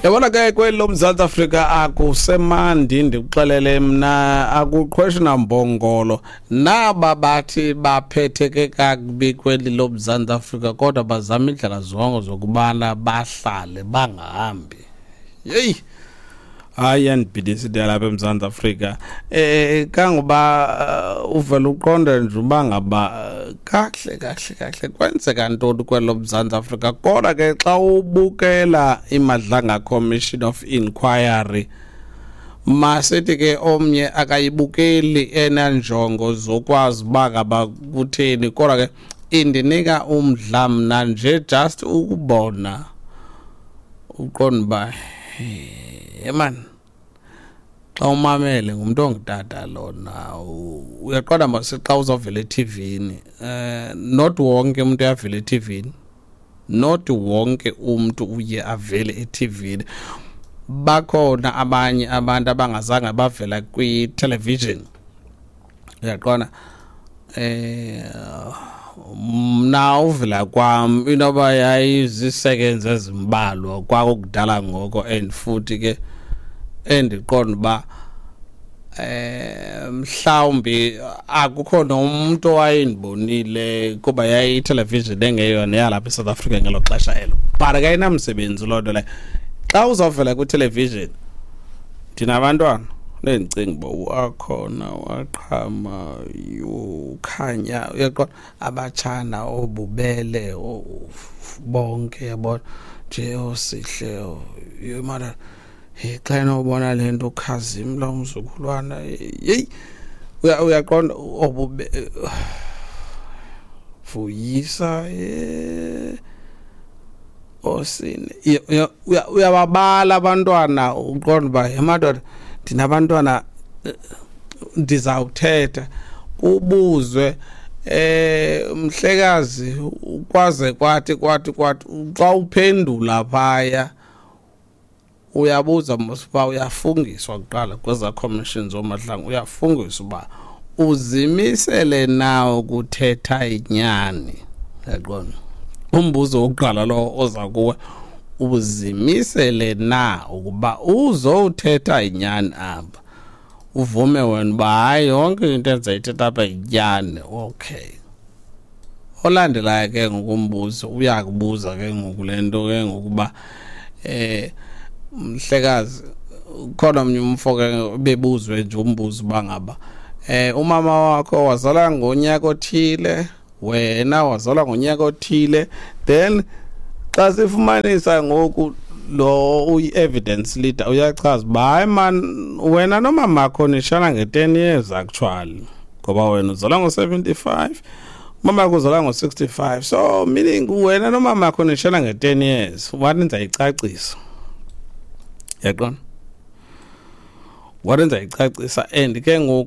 Yabona ke, kweli loMzantsi Afrika akusemandi, ndikuxelele mna, akuqhweshi nambongolo. Naba bathi baphetheke kakubi kweli loMzantsi Afrika, kodwa bazama iindlela zonke zokubana bahlale bangahambi. Yeyi, hayi, iyandibhidisa into yalapha eMzantsi Afrika, kangoba uvele uqonde nje uba ngaba kakuhle kakuhle kakuhle kwenzeka ntoni kwelo Mzantsi Afrika. Kodwa ke xa ubukela iMadlanga Commission of Inquiry, masithi ke omnye akayibukeli enanjongo zokwazi uba ngaba kutheni, kodwa ke indinika umdla mna nje just ukubona, uqonda uba man, xa umamele ngumuntu ongutata lona, uyaqonda mase xa uzawuvela ethivini, not wonke umuntu uyavela ethivini, not wonke umuntu uye avele ethivini. Bakhona abanye abantu abangazange bavela kwi-television, uyaqonda. Mna uvela kwam inoba yayizisekenzi ezimbalwa kwakukudala ngoko, and futhi ke endiqonda uba mhlawumbi akukho nomuntu owayendibonile kuba yayitelevision engeyona yalapha eSouth Africa ngelo xesha elo, but akayinamsebenzi loo nto leyo. Xa uzawuvela kwitelevision, ndinabantwana lendicinga uba uAkhona, waqhama, uKhanya, uyaqonda, abatshana obubele bonke, yabona nje, osihle mara hey, xa enobona le nto ukhazimla umzukulwana, yeyi, uyaqonda, obube Vuyisa, osine, uyababala abantwana, uqonda uba madoda, ndinabantwana, ndizawuthetha. Ubuzwe, mhlekazi, kwaze kwathi kwathi kwathi, xa uphendula phaya uyabuza mos uba uyafungiswa kuqala kweza commissions ooMadlanga, uyafungiswa uba uzimisele na ukuthetha inyani, yaqonda. Umbuzo wokuqala lo oza kuwe, uzimisele na ukuba uzowuthetha inyani apha? Uvume wena uba hayi, yonke into endizayithetha apha yinyani, okay. Olandelayo ke ngokumbuzo uyakubuza ke ngoku le nto ke ngokuba, mhlekazi, khona omnye umfo ke bebuzwe nje umbuzo uba ngaba umama wakho wazalwa ngonyaka othile, wena wazalwa ngonyaka othile, then xa sifumanisa ngoku lo uyi-evidence leader uyachaza uba hayi man, wena nomamakho nishana nge-10 years actually, ngoba wena uzalwa ngo-75, umama wakho uzalwa ngo-65, so meaning wena nomama wakho nishana nge-10 years. Wathi ndizayicacisa, yaqona, wathi ndizayicacisa, and ke ngoku